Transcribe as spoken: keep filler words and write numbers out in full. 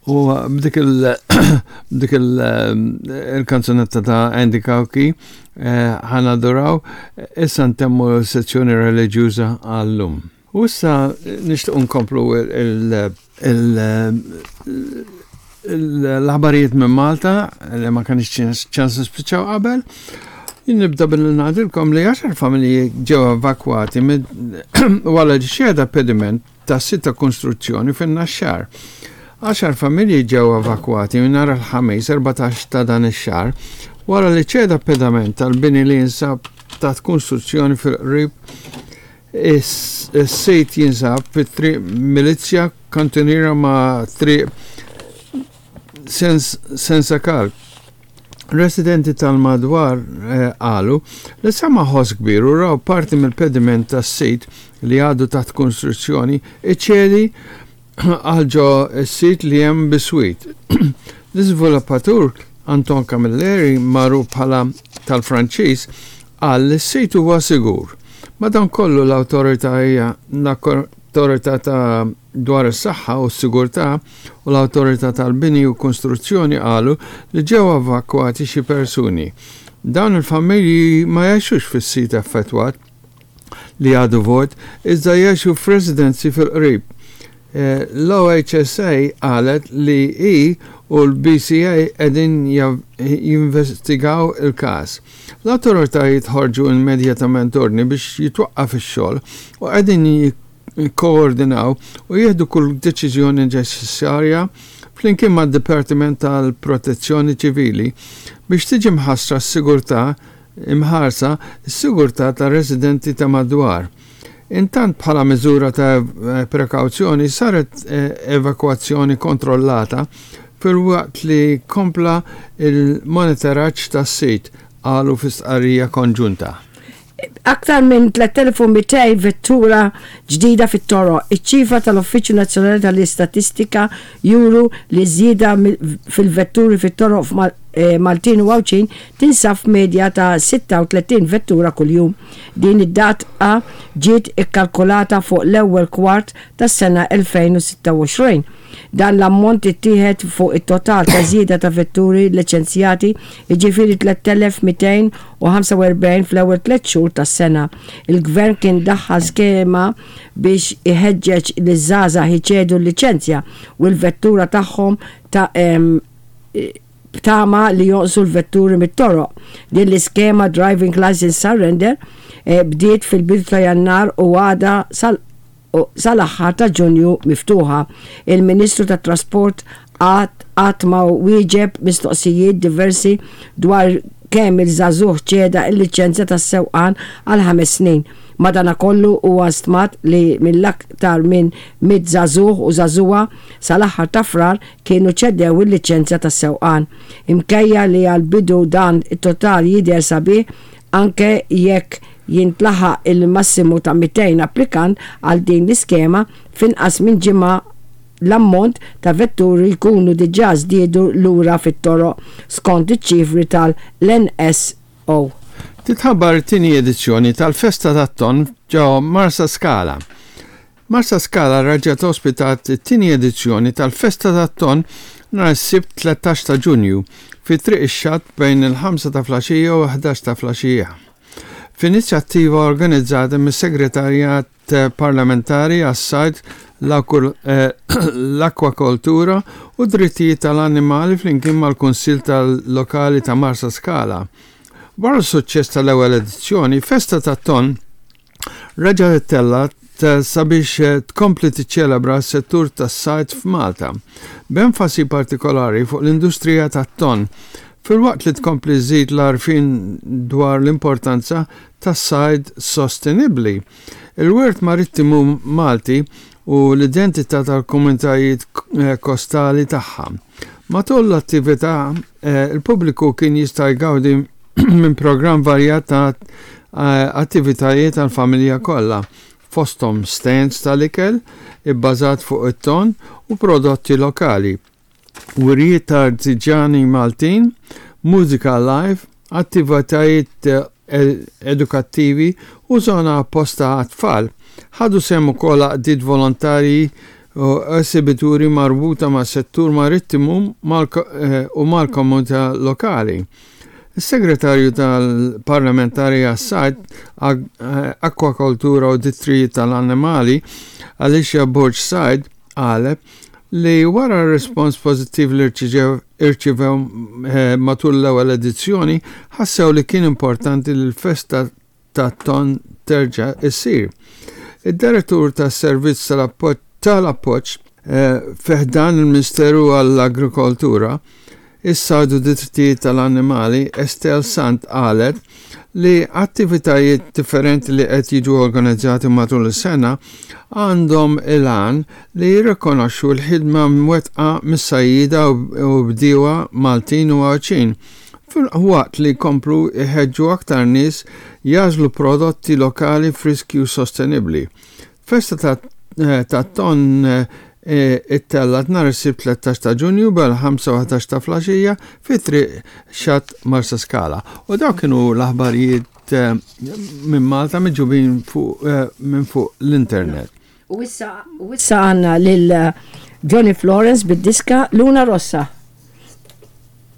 U b'dik il- b'dik il-kanzunetta ta' Andy Cauchi "Ħa Naduraw", issa ntemmu sezzjoni reliġjuża għallum. U issa nixtieq nkomplu l-aħbarijiet minn Malta li ma kellniex ċans nispiċċaw qabel. Nibda billi ngħidilkom li għaxar familji ġew evakwati wara li ċeda pediment ta' sit ta' konstruzzjoni fin-Naxxar. Għaxar familji ġew evakwati minn nhar il-Ħamis erbatax ta' dan ix-xahar wara li ċeda pediment tal-bini li jinsab ta' konstruzzjoni fil-qrib. Is-sit jinsab fit-triq Milizja, kantuniera ma' triq Sensakal. Residenti tal-madwar qalu li sama ħoss kbir u raw parti mill-pediment tas-sit li għadu taħt konstruzzjoni iċedi għal ġo s-sit li hemm biswit. L-iżviluppatur Anton Camilleri, magħruf bħala tal-Franċiż, qal li s-sit huwa sigur. Madankollu, l-awtorità hija l-awtorità ta' dwar is-saħħa u s-sigurtà u l-awtorità tal-bini u konstruzzjoni qalu li ġew evakwati xi persuni. Dawn il-familji ma jgħixux fis-sit affettwat li għadu vojt, iżda jgħixu f'residenzi fil-qrib. Eh, L-O H S A qalet li i u l-B C A qegħdin jinvestigaw il-każ. L-autoritajiet ħarġu immedjatament ordni biex jitwaqqaf ix-xogħol u qegħdin jikkoordinaw u jieħdu kull deċiżjoni neċessarja flimkien mad-Dipartiment tal-Protezzjoni Ċivili biex tiġi mħassra s-sigurtà imħarsa s-sigurtà tar-residenti ta' madwar. Intant, bħala miżura ta' prekawzjoni, saret eh, evakwazzjoni kontrollata filwaqt li kompla il-monitoraġġ tas-sit, qalu fi stqarrija konġunta. Aktar minn tliet elef u mitejn vettura ġdida fit-toroq. Iċ-ċifra tal-Uffiċċju Nazzjonali tal-Istatistika juru li żieda fil-vetturi fit-toroq eh, Maltin u Għawdxin tinsab medja ta' sitta u tletin vettura kuljum. Din id-data ġiet ikkalkulata fuq l-ewwel kwart tas-sena elfejn u sitta u għoxrin. Dan l-ammont ittieħed fuq it-total ta' żieda ta' vetturi liċenzjati, jiġifieri tliet elef u mitejn u ħamsa u erbgħin fl-ewwel tliet xhur tas-sena. Il-gvern kien daħħal skema biex iħeġġeġ liż-żgħażagħ iċedu l-liċenzja u l-vettura tagħhom ta' b'tama li jonqsu l-vetturi mit-toroq. Din l-iskema Driving License Surrender eh, bdiet fil-bidu ta' Jannar u għada sal sal-aħħar ta' Ġunju miftuħa. Il-Ministru tat Trasport għad ma wieġeb mistoqsijiet diversi dwar kemm il-żagħżugħ ċeda il-liċenzja tas-sewqan għal ħames snin. Madanakollu, huwa stmat li mill-aktar minn mitt żagħżugħ u żagħżugħa sal-aħħar ta' Frar kienu ċedew il-liċenzja tas-sewqan. Minkejja li għal-bidu dan it-total jidher sabiħ, anke jekk jintlaħaq il-massimu ta' mitejn applikant għal din l-iskema, finqas minn ġimgħa l-ammont ta' vetturi jkunu diġà żdiedu lura fit-toroq, skont iċ-ċifri tal-N S O. Titħabbar it-tieni edizzjoni tal-Festa tat-Ton ġo Marsa Skala. Marsa Skala reġgħet ospitat it-tieni edizzjoni tal-Festa tat-Ton nhar is-Sibt tlettax ta' Ġunju fi Triq ix-Xatt bejn il-ħamsa ta' filgħaxija u ħdax ta' filgħaxija, f'inizjattiva organizzata mis-Segretarjat Parlamentari għas-Sajd, l-Akwakultura u Drittijiet tal-Annimali flimkien mal-Kunsill tal-Lokali ta' Marsa Skala. Wara s-suċċess tal-ewwel edizzjoni, Festa tat-Ton reġgħet ittellgħet sabiex tkompli tiċċelebra s-settur tas-sajd f'Malta, b'enfasi partikolari fuq l-industrija tat-ton, filwaqt li tkompli żżid l-għarfien dwar l-importanza tas-sajd sostenibbli, il-wirt marittimu Malti u l-identità tal-komunitajiet kostali tagħha. Matul l-attività, il-pubbliku kien jista' jgawdi minn programm varjat ta' attivitajiet għal-familja kollha, fosthom stands tal-ikel ibbażat fuq it-ton u prodotti lokali, wirjiet ta' artiġjani Maltin, mużika live, attivitajiet edukattivi u zona apposta għat-tfal. Ħadu sehem ukoll għaqdiet volontarji U esibituri marbuta ma' settur marittimu eh, u mal-komunità lokali. Is-segretarju tal-parlamentari għas-sajd, eh, akwakultura u drittijiet tal-annimali, Alicia Borg Said, qalet li wara r-respons pozittiv li irċivew eh, matul l-ewwel edizzjoni, ħassew li kien importanti li l-festa tat-ton terġa' issir. Id-direttur tas-servizz tal-appoġġ eh, fi ħdan il-Ministeru għall-Agrikoltura, is-Sajd u Drittijiet tal-Annimali, Estelle Sant, qalet li attivitajiet differenti li qed jiġu organizzati matul is-sena għandhom il-għan li jirrikonoxxu l-ħidma mwettqa mis-sajjida u bdiewa Maltin u Għawdxin, waqt li jkomplu jħeġġu aktar nies jagħżlu prodotti lokali, friski u sostenibbli. Festa ta' ton ittellgħet nhar is-Sibt tlettax ta' Ġunju bil-ħamsa u ħdax ta' filgħaxija fi Triq Xatt, Marsaskala. U dawk kienu l-aħbarijiet eh, minn Malta miġjubin fuq eh, minn fuq l-internet. U issa u issa għandna lil eh, Johnny Florence bid-diska Luna Rossa.